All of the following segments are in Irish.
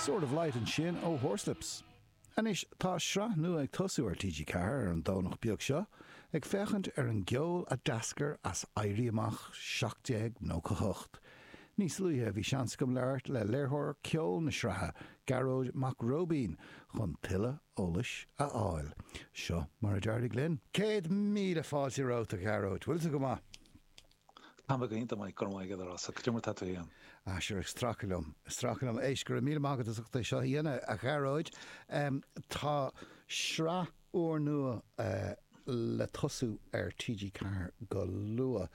Sword of Light ansin ó Horslips. Anois, tá sraith nua ag tosú ar TG4 ar an Domhnach beag seo, ag féachaint ar an gceol a d'eascair as Éirí Amach 1798. Níos luaithe, bhí seans agam labhairt le léiritheoir ceoil na sraithe, Gearóid Mac Róibín, chun tuilleadh eolais a fháil. Seo mar a d'éirigh linn. 100,000 fáilte romhat, a Ghearóid. Bhfuil tú go maith? Tá mé go hiontach maith, go raibh maith agat a Rossa. Cad é mar atá tú féin? Ah sure, ag stracadh liom, ag stracadh liom. Éist, go raibh míle maith agat as ucht é seo a dhéanamh, a Ghearóid. Tá sraith úrnua le tosú ar TG4 go luath.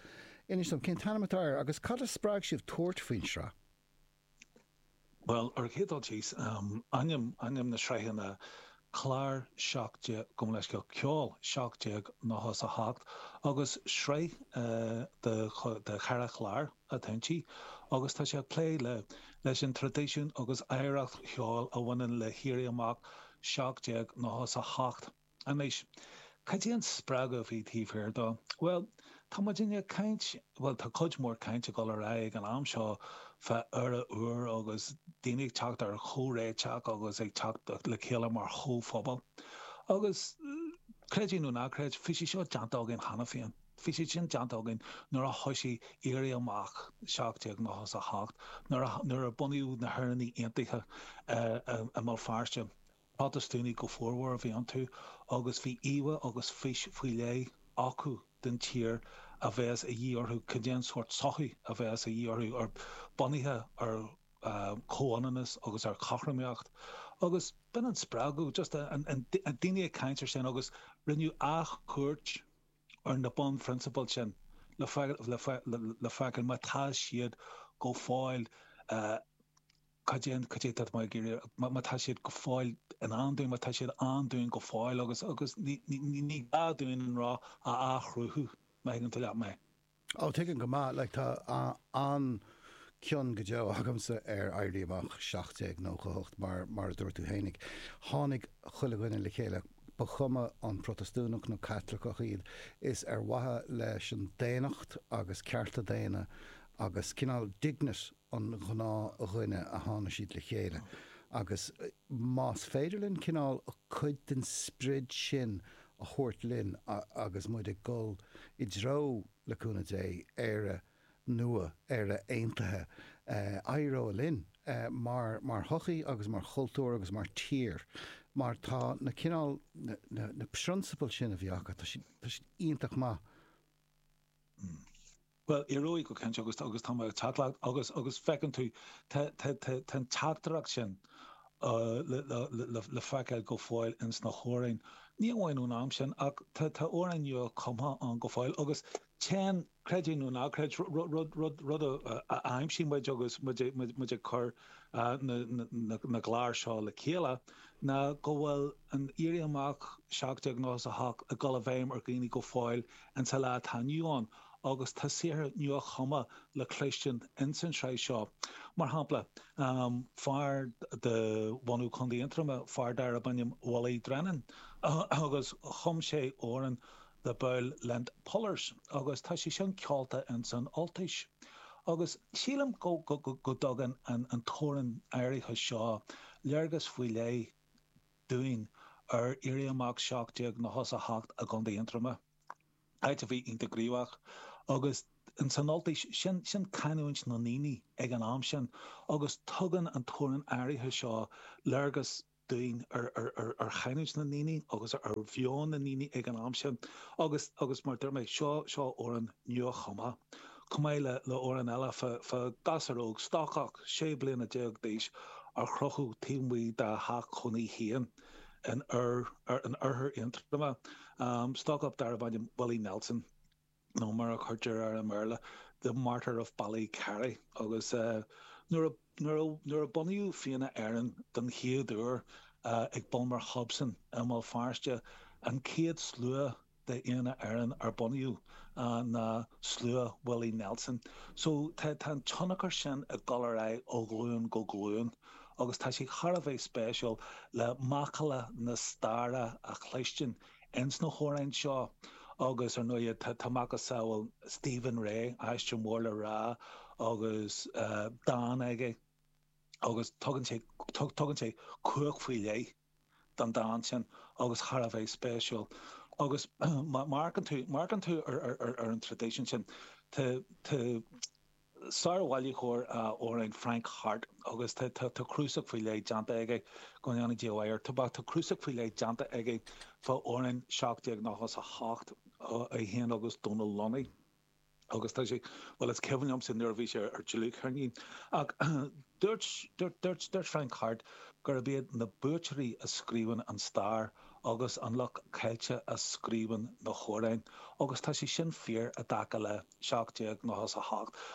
Inis dom, cén t-ainm atá air agus cad a spreag sibh tabhairt faoin sraith? Bhuel, ar an chéad dul síos, ainm, ainm na sraithe ná Clár 17, gabh mo leithscéal, Ceol 1798, agus sraith de, de cheithre chlár atá inti, agus tá sé ag plé le, leis an traidisiún agus oidhreacht cheoil a bhaineann le hÉirí Amach 1798. Anois, cad é an spreagadh a bhí taobh thiar dó? Bhuel, tá muidinne ag caint, bhuel, tá cuid mhór cainte ag dul ar aghaidh ag an am seo fá Éire úr agus daoine ag teacht ar chomhréiteach agus ag teacht le chéile mar chomhphobal. Agus, creid é nó ná creid, bhí sé seo déanta againn cheana féin. Bhí sé sin déanta againn nuair a thoisigh Éirí Amach 1798, nuair a, nuair a bunaíodh na hÉireannaigh Aontaithe i mBéal Feirste. Protastúnaigh go formhór a bhí iontu agus bhí íomhá agus fís faoi leith acu den tír a bheas a dhíth orthu, cad é an sórt sochaí a bheas a dhíth orthu, ar bunaithe ar chomhionannas agus ar chothromaíocht. Agus b'in an spreagadh, just an daoine ag caint ar sin agus rinneadh athchuairt ar na bunphrionsabail sin le feiceáil má tá siad go fóill Cad é, cad é atá mé ag iarraidh, má tá siad go fóill in ann dúinn, má tá siad ann dúinn go fóill agus, agus ní, ní, ní gá dúinn an roth a athchruthú, má thuigeann tú leat mé. Ó, tuigim go maith, like tá an-cion go deo agamsa ar Éirí Amach 1798 mar, mar a dúirt tú fhéinig, tháinig chuile dhuine le chéile, ba chuma an Protastúnach nó Caitliceach iad, is ar mhaithe leis an daonnacht agus cearta daonna agus cineál dignity an ghnáthdhuine a tháinig siad le chéile agus más féidir linn cineál cuid den sprid sin a thabhairt linn agus muid ag dul i dtreo, le cúnamh Dé, Éire nua, Éire aontaithe, éireoidh linn mar mar shochaí agus mar chultúr agus mar tír mar tá na cineál, na na prionsabail sin a bhí acu, tá siad, tá siad iontach maith. Bhuel, éireoidh go cinnte agus agus tá mé ag teacht leat agus agus feiceann tú tá tá tá tá an teachtaireacht sin le le le le feiceáil go fóill ins na hamhráin. Ní amháin ón am sin ach tá tá amhráin nua cumtha ann go fóill agus téann, creid é nó ná creid, rud rud rud rud a a aimsigh muid agus muid muid muid ag cur na na na na gclár seo le chéile ná go bhfuil an Éirí Amach 1798 ag dul i bhfeidhm ar dhaoine go fóill insa lá atá inniu ann agus tá saothar nua-chumtha le cloistin ins an tsraith seo. Mar shampla, fear de bhunadh Chontae Aontroma, fear darb ainm Willie Drennan, agus chum sé amhrán The Bow Lent Pullers agus tá sé sin ceolta ins an Ultais. Agus sílim go dtugann an t-amhrán áirithe seo léargas faoi leith dúinn ar Éirí Amach 1798 i gContae Aontroma. áit a bhí iontach gníomhach, agus ins an Ultais, sin, sin canúint na ndaoine ag an am sin, agus tugann an t-amhrán áirithe seo léargas dúinn ar, ar, ar, ar chanúint na ndaoine agus ar mheon na ndaoine ag an am sin, agus, agus mar a dúirt mé, seo, seo amhrán nua-chumtha, chomh maith le, le amhrán eile fá, fá ghasúr óg, stócach, 16 bliana d'aois, ar crochadh taobh amuigh dá theach cónaí féin. in oirthear Aontroma, stócach darbh ainm Willie Nelson, nó mar a chuirtear air i mBéarla, The Martyr of Ballycarry. Agus nuair a bunaíodh Fianna Éireann den chéad uair ag Bulmer Hobson i mBéal Feirste, an chéad slua de Fhianna Éireann ar bunaíodh ná slua Willie Nelson. So tá an tionchar sin ag dul ar aghaidh ó ghlúin go glúin agus tá sé thar a bheith spéisiúil le macalla na staire a chloistin ins na hamhráin seo agus ar ndóigh tá macasamhail Stephen Rea, aisteoir mór le rá agus dán aige. Agus tugann sé, tugann sé cumhacht faoi leith don dán sin agus thar a bheith spéisiúil. Agus má amharcann tú, má amharcann tú ar an traidisiún sin, tá, tá sár-bhailitheoir amhrán Frank Harte agus tá, tá, tá cnuasach faoi leith déanta aige, go ndéana Dia a mhaith air, tá, tá cnuasach faoi leith déanta aige fá amhráin 1798, é féin agus Dónal Lunny. Agus tá sé, bhuel is cuimhin liomsa nuair a bhí sé ar dlúthcheirnín. Ach dúirt, dúirt, dúirt, dúirt Frank Harte gurb iad na buaiteoirí a scríobhann an stair agus an lucht caillte a scríobhann na hamhráin. Agus tá sé sin fíor i dtaca le 1798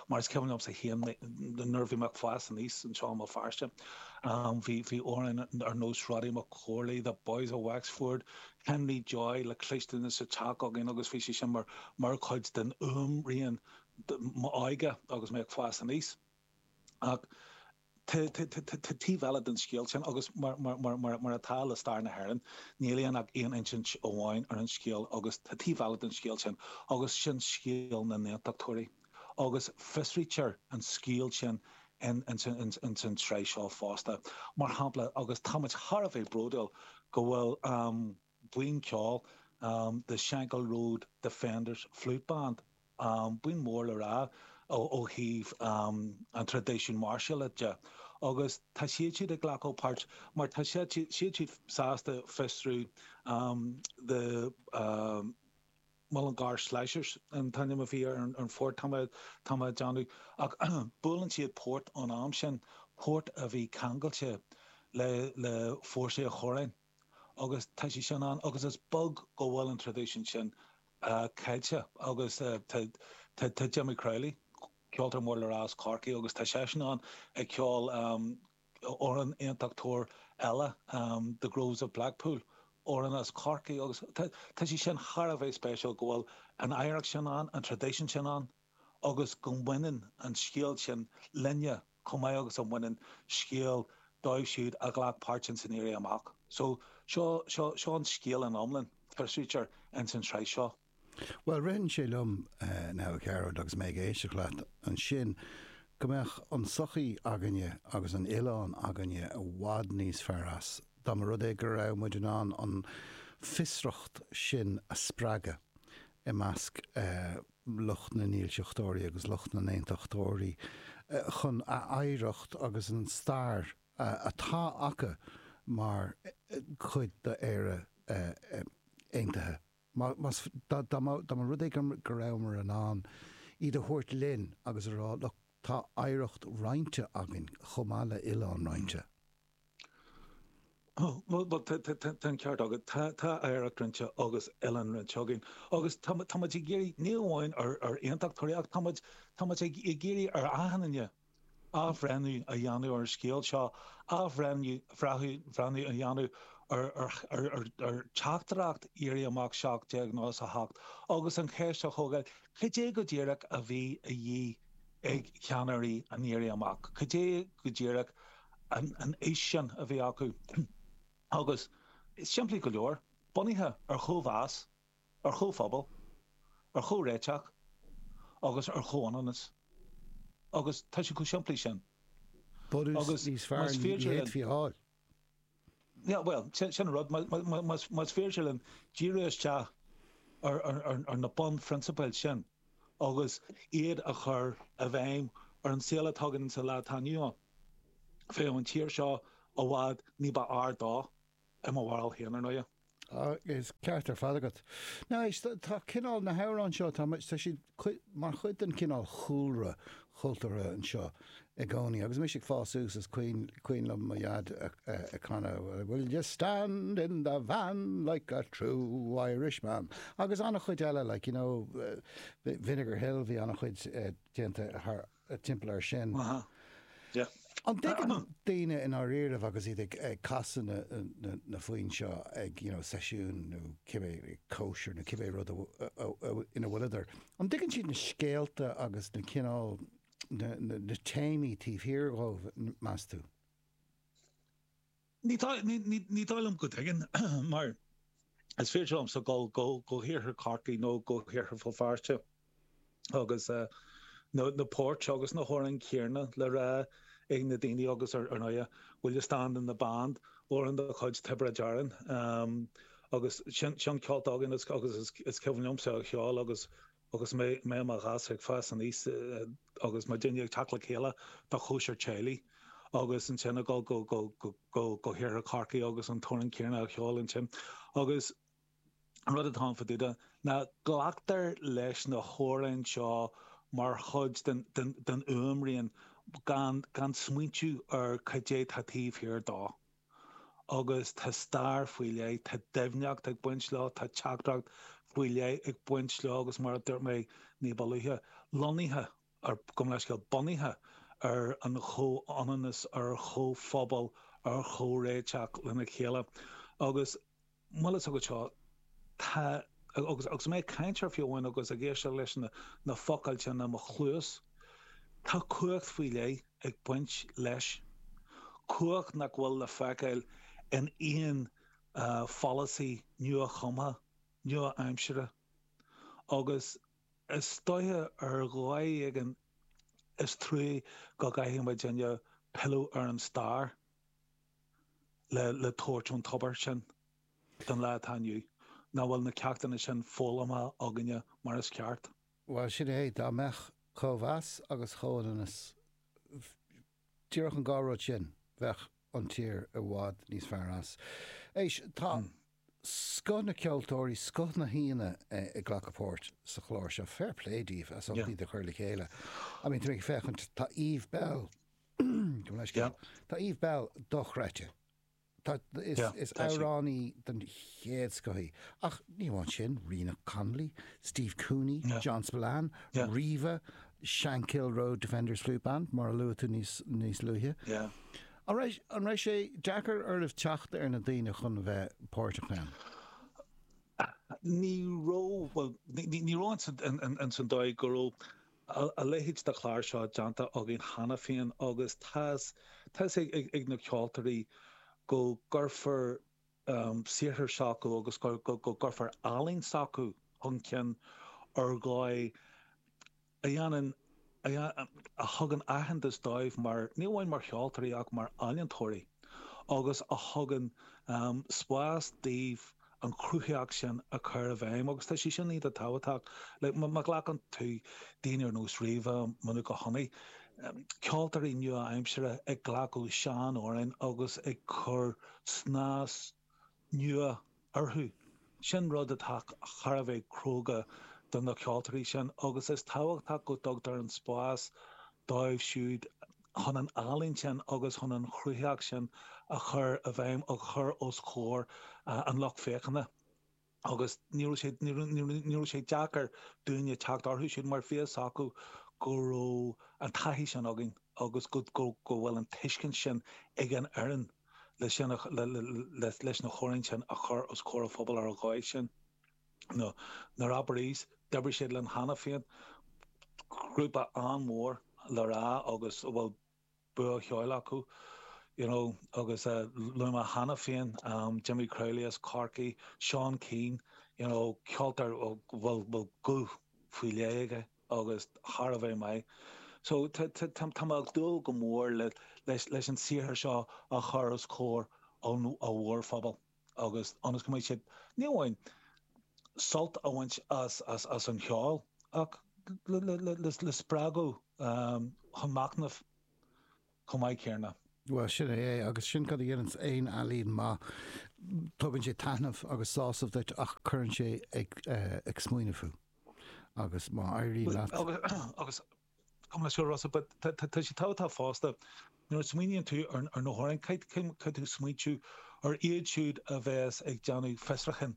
mar is cuimhin liomsa féin nuair a bhí mé ag fás aníos anseo i mBéal Feirste, bhí, bhí amhráin ar nós Roddy McCorley, The Boys of Wexford, Henry Joy le cloistin sa teach againn agus bhí sé sin mar mar chuid den fhuaimrian m'óige agus mé ag fás aníos. Ach tá taobh eile den scéal sin agus mar mar mar mar atá le stair na hÉireann, níl aon ach aon insint amháin ar an scéal agus tá taobh eile den scéal sin agus sin scéal na nAontachtóirí agus fiosraítear an scéal sin in ins an tsraith seo fosta. Mar shampla, agus táimid thar a bheith bródúil go bhfuil buíon ceoil The Shankill Road Defenders Flute Band, buíon mór le rá ó thaobh an traidisiún máirseála de, agus tá siad siúd ag glacadh páirt mar tá siad siúd sásta fiosrú the Mullingar Slashers an t-ainm a bhí ar an phort, tá mé ag déanamh, ach buaileann siad port ón am sin, port a bhí ceangailte le le fórsaí an Choróin agus tá sé sin ann agus is beag go bhfuil an traidisiún sin caillte agus tá tá Jimmy Crowley, ceoltóir mór le rá as Corcaigh agus tá seisean ann ag ceol amhrán aontachtóir eile, The Groves of Blackpool, amhrán as Corcaigh agus tá sé sin thar a bheith spéisiúil go bhfuil an oidhreacht sin ann, an traidisiún sin ann agus go mbaineann an scéal sin linne chomh maith agus a bhaineann scéal dóibh siúd a ghlac páirt ins an Éirí Amach. So, seo, seo, seo an scéal in iomlán, fiosraítear ins an tsraith seo. Bhuel, ritheann sé liom, now, a Ghearóid, agus mé ag éisteacht leat ansin, go mbeadh an tsochaí againne agus an oileán againne i bhfad níos fearr as dá mba rud é go raibh muid in ann an fiosracht sin a spreagadh i measc lucht na ndílseachtóirí agus lucht na n-aontachtóirí chun a oidhreacht agus an stair atá acu mar chuid d'Éire aontaithe. Más, dá mba rud é go rabhamar in ann iad a thabhairt linn agus a rá, look, tá oidhreacht roinnte againn chomh maith le oileán roinnte. Bhuel, tá an ceart agat. Tá oidhreacht roinnte agus oileán roinnte againn. Agus tá muid ag iarraidh, ní amháin ar aontachtóirí ach tá muid ag iarraidh ar achan duine athbhreithniú a dhéanamh ar an scéal seo, athbhreithniú bhreathnú a dhéanamh ar theachtaireacht Éirí Amach 1798 agus an cheist a thógáil, cad é go díreach a bhí a dhíth ag ceannairí an Éirí Amach? Cad é go díreach an fhís sin a bhí acu? Agus, simplí go leor, bunaithe ar chóimheas, ar chomhphobal, ar chomhréiteach agus ar chomhionannas. Agus tá sé chomh simplí sin. Bunús níos fearr ní fhéadfaí a fháil. Yeah, bhuel, sin an rud. Más féidir linn díriú isteach ar na bunphrionsabail sin agus iad a chur i bhfeidhm ar an saol atá againn sa lá atá inniu ann, bheadh an tír seo i bhfad ní ba fhearr dó, i mo bharúil féin, ar ndóighe. Is ceart ar fad agat. Now éist, tá cineál na hamhráin seo, tá tá siad mar chuid den cineál chúlra chultúrtha anseo i gcónaí. Agus mise ag fás suas is cuimhin liom mo dhaid ag canadh Will you stand in the van like a true Irishman? Agus an-chuid eile, like, you know, Vinegar Hill, bhí an-chuid déanta thar timpeall air sin. An dtuigeann daoine i ndáiríribh agus iad ag casadh na foinn seo ag you know seisiún nó cibé cóisir nó cibé rud ina bhfuileadar, an dtuigeann siad na scéalta agus na cineál na téamaí taobh thiar dhóibh, meas tú? Ní dóigh liom go dtuigeann, mar is féidir liomsa dul go hiarthar Chorcaí nó go hiarthar Bhéal Feirste agus na poirt agus na hamhráin chéanna le rá ag na daoine agus ar ndóighe Will You Stand in the Band, amhrán de chuid Tiobraid Árann agus sin ceolta againn agus is cuimhin liomsa a cheol agus agus mé i mo ghasúr ag fás aníos agus muidinne ag teacht le chéile do chóisir teaghlaigh agus ansin ag dul go go go go hiarthar Chorcaí agus an t-amhrán céanna a cheol ansin agus an rud atá ann fá dtaobh de ná glactar leis na hamhráin seo mar chuid den den den fhuaimrian gan gan smaointiú ar cad é tá taobh thiar dó. Agus tá stair faoi leith, tá doimhneacht ag baint leo, tá teachtaireacht faoi leith ag baint leo agus mar a dúirt mé ní ba luaithe, lonnaithe ar, gabh mo leithscéal, bunaithe ar an chomhionannas, ar chomhphobal, ar chomhréiteach lena chéile. Agus bhfuil fhios agat seo, tá, agus, agus mé ag caint air fiú amháin agus ag éisteacht leis na, na focail sin i mo chluas, tá cumhacht faoi leith ag baint leis, cumhacht nach bhfuil le feiceáil in aon pholasaí nua-chumtha, nua-aimsire. Agus is dóiche ar dhóigh éigin is trua go gcaithfidh muidinne pilleadh ar an stair. le tabhairt ón tobar sin don lá atá inniu, nach bhfuil na ceachtanna sin foghlamtha againne mar is ceart. Bhuel, sin é, dá mbeadh cóimheas agus comhionannas, díreach an dhá rud sin, bheadh an tír i bhfad níos fearr as. Éist, tá scoth na ceoltóirí, scoth na haíonna ag glacadh páirt sa chlár seo. Fair play daoibh as ucht iad a chur le chéile. I mean, tá mé ag féachaint, tá Eve Belle, Gabh mo leithscéal. Tá Eve Belle dochreidte. Tá, is, is amhránaí den chéad scoth í. Ach ní amháin sin, Ríona Connolly, Steve Cooney, John Spillane, Riva, Shankill Road Defenders Flute Band, mar a luaigh tú níos, níos luaithe. An raibh, an raibh sé deacair oraibh teacht ar na daoine chun a bheith páirteach ann? Ní raibh, bhuel, ní, ní raibh ins an dóigh go raibh a leithéid de chlár seo déanta againn cheana féin agus tá fhios ag na ceoltóirí go gcuirfear saothar s'acu agus go gcuirfear ealaín s'acu chun cinn ar dhóigh a dhéanann, a thugann aitheantas dóibh mar, ní amháin mar cheoltóirí ach mar ealaíontóirí agus a thugann spás daoibh an chruthaíocht sin a chur i bhfeidhm agus tá sé sin iontach tábhachtach. Like, má ghlacann tú daoine ar nós Riva, Manuka Honey, ceoltóirí nua-aimsire ag glacadh sean-amhráin agus ag cur snas nua orthu, sin rud atá thar a bheith cróga do na ceoltóirí sin agus is tábhachtach go dtugtar an spás dóibh siúd chun an ealaín sin agus chun an chruthaíocht sin a chur i bhfeidhm, a chur os comhair an lucht féachana. Agus ní raibh sé, ní raibh sé deacair dúinne teacht orthu siúd mar bhí fhios acu go raibh an taithí sin againn agus go, go, go bhfuil an tuiscint sin ag an fhoireann le sin, le, le, leis na hamhráin sin a chur os comhair an phobail ar an dhóigh sin. Na na Rapparees, d'oibrigh siad linn cheana féin, grúpa an-mhór le rá agus a bhfuil bua cheoil acu, you know, agus luaigh mé cheana féin Jimmy Crowley as Corcaigh, Seán Keane, you know, ceoltóir a bhfuil bhfuil guth faoi leith aige agus thar a bheith maith. So tá tá tá mé ag dúil go mór le leis leis an saothar seo a chur os comhair an mhórphobail. agus ionas go mbeidh siad, ní amháin sult a bhaint as an cheol, ach le spreagadh chun machnaimh chomh maith céanna. Bhuel, sin é é, agus sin cad a dhéananns aon ealaín maith, tugann sé taitneamh agus sásamh duit ach cuireann sé ag smaoineamh thú. Agus má éiríonn leat. Agus Gabh mo leithscéal Rossa, but tá sé tábhachtach fosta nuair a smaoiníonn tú ar na hamhráin, caithfidh tú smaointiú ar iad siúd a bheas ag déanamh fiosrúcháin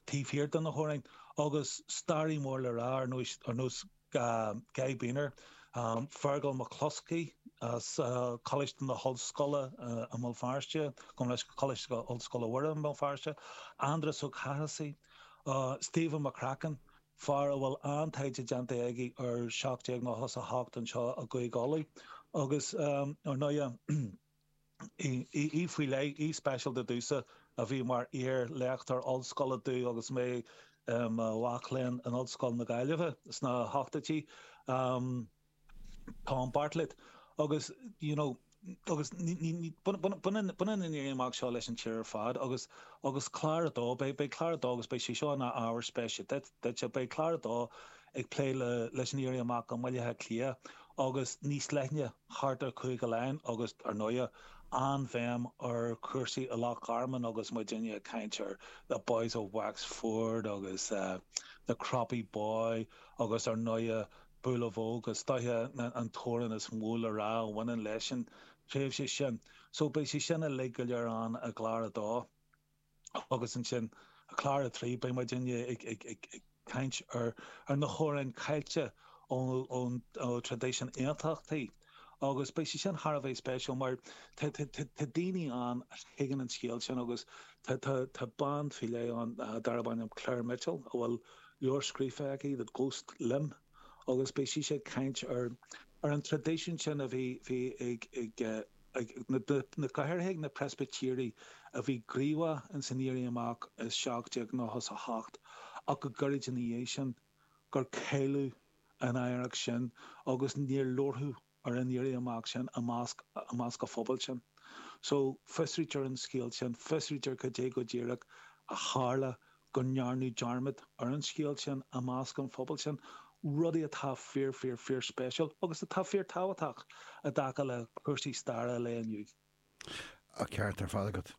taobh thiar de na hamhráin agus staraí mór le rá ar nós ar nós Guy Beiner, Fergal McCloskey as Coláiste na hOllscoile i mBéal Feirste, gabh mo leithscéal Coláiste Ollscoile Mhuire i mBéal Feirste, Aindreas Ó Cathasaigh, Stephen McCracken, fear a bhfuil an-taighde déanta aige ar 1798 anseo i gCúige Uladh agus, ar ndóighe, aoi faoi leith, aoi speisialta domhsa a bhí mar iar-léachtóir ollscoile domh agus mé i mo mhac léinn in Ollscoil na Gaillimhe sna hochtóidí, Tom Bartlett. Agus, you know, Agus baineann an Éirí Amach seo leis an tír ar fad agus agus clár a dó, beidh clár a dó agus beidh sé seo ina ábhar spéise duit, beidh clár a dó ag plé leis an Éirí Amach i mBaile Átha Cliath agus níos leithne thart ar Chúige Laighean agus, ar ndóighe, an-bhéim ar chúrsaí i Loch Garman agus muidinne ag caint ar The Boys of Wexford agus The Croppy Boy agus ar ndóighe Boolavogue, is dóiche an t-amhrán is mó le rá a bhaineann leis an tréimhse sin. So beidh sé sin uilig go léir ann i gclár a dó. Agus ansin, i gclár a 3, beidh muidinne ag caint ar na hamhráin caillte ón traidisiún aontachtaí. Agus beidh sé sin thar a bheith spéisiúil mar tá daoine ann a thuigeann an scéal sin agus tá bean faoi leith ann darb ainm Claire Mitchell a bhfuil leabhar scríofa aici, The Ghost Limb, agus beidh sise ag caint ar an traidisiún sin a bhí ag ag na go háirithe ag na Preispitéirigh a bhí gníomhach ins an Éirí Amach i 1798 ach go gairid ina dhiaidh sin gur cailleadh an oidhreacht sin agus níor labhradh ar an Éirí Amach sin i measc i measc an phobail sin. So, fiosraítear an scéal sin, fiosraítear cad é go díreach a tharla go ndearnadh dearmad ar an scéal sin i measc an phobail sin, rudaí atá fíor, fíor, fíor spéisiúil agus atá fíor tábhachtach i dtaca le cúrsaí staire an lae inniu. An ceart ar fad agat.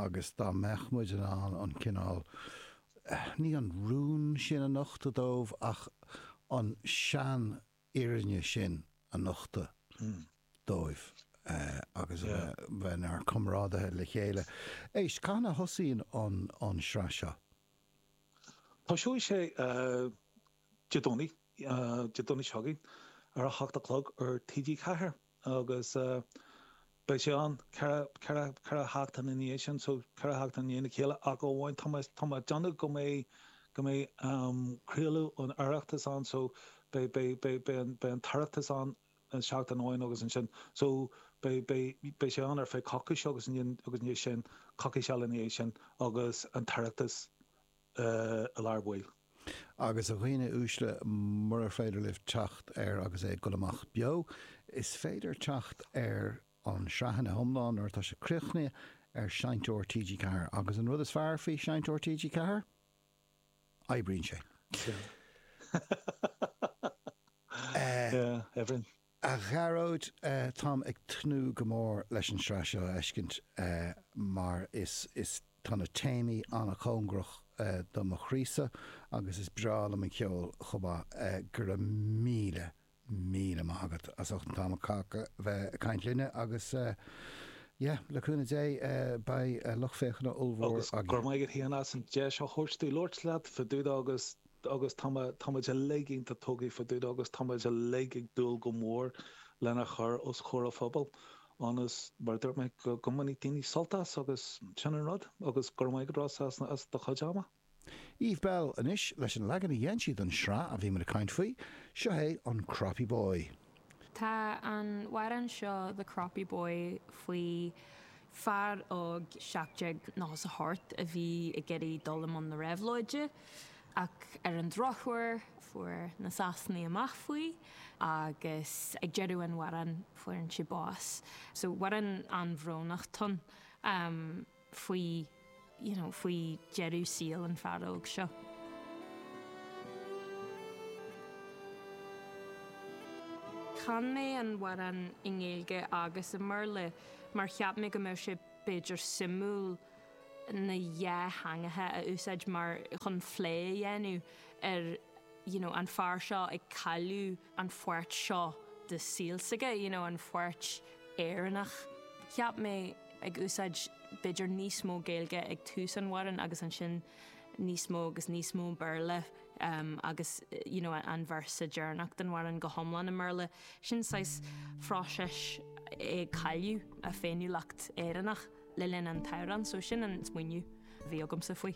Agus dá mbeadh muid in ann an cineál, ní an rún sin a nochtadh dóibh ach an sean fhírinne sin a nochtadh dóibh agus a bheith inár gcomrádaithe le chéile. Éist, cathain a thosaíonn an sraith seo? Tosóidh sé Dé Domhnaigh, Dé Domhnaigh seo chugainn, ar a hocht a chlog ar TG4 agus beidh sé ann ceithre sheachtain ina dhiaidh sin, so ceithre sheachtain i ndiaidh a chéile ach amháin tá mé tá mé ag déanamh go mbeidh go mbeidh craoladh an Oireachtais ann so beidh beidh beidh beidh an beidh an tOireachtas ann an seachtain amháin agus ansin so beidh beidh beidh sé ann ar feadh coicíse agus ansin agus ina dhiaidh sin coicís eile ina dhiaidh sin agus an tOireachtas i lár baill. Agus a dhaoine uaisle, murar féidir libh teacht air agus é ag dul amach beo, is féidir teacht ar an sraith ina hiomlán nuair atá sé críochnaithe ar Seinnteoir TG4. Agus an rud is fearr faoi Seinnteoir TG4? Oibríonn sé. Yeah, oibríonn. A Ghearóid, táim ag tnúth go mór leis an sraith seo a fheiscint mar is, is, tá na téamaí an-chóngarach do mo chroísa agus is breá liom an ceol chomh maith. Go raibh míle, míle maith agat as ucht an t-am a chaitheamh bheith ag caint linne agus yeah, le cúnamh Dé beidh lucht féachana ollmhór againn. Agus go raibh maith agat féin as an deis a thabhairt domh labhairt leat fá dtaobh de agus agus tá tá muid uilig iontach tógtha fá dtaobh de agus tá muid uilig ag dúil go mór lena chur os comhair an phobail ionas, mar a dúirt mé, go go mbainfidh daoine sult as agus sin an rud agus go raibh maith agat Rossa as as do chuid ama. Eve Belle anois leis an leagan a dhein sí don sraith a bhí muid ag caint faoi, seo é an Croppy Boy. Tá an amhrán seo The Croppy Boy faoi fear óg 1798 a bhí ag iarraidh dul i mbun na réabhlóide ach ar an drochuair fuair na Sasanaigh amach faoi agus ag deireadh an amhráin fuaireann sé bás. So amhrán an-bhrónach atá ann. faoi you know faoi deireadh saoil an fear óg seo. Chan mé an amhrán i nGaeilge agus i mBéarla mar cheap mé go mbeadh sé b'fhéidir suimiúil na dhá theangacha a úsáid mar chun phlé a dhéanamh ar you know an fear seo ag cailleadh an pháirt seo de saol s'aige, you know an pháirt Éireannach. Cheap mé ag úsáid b'fhéidir níos mó Gaeilge ag tús an amhráin agus ansin níos mó agus níos mó Béarla agus you know an véarsa deireanach den amhrán go hiomlán i mBéarla. Sin saghas phróiseas é ag cailleadh a féiniúlacht Éireannach le linn an t-amhrán so sin an smaoineamh a bhí agamsa faoi.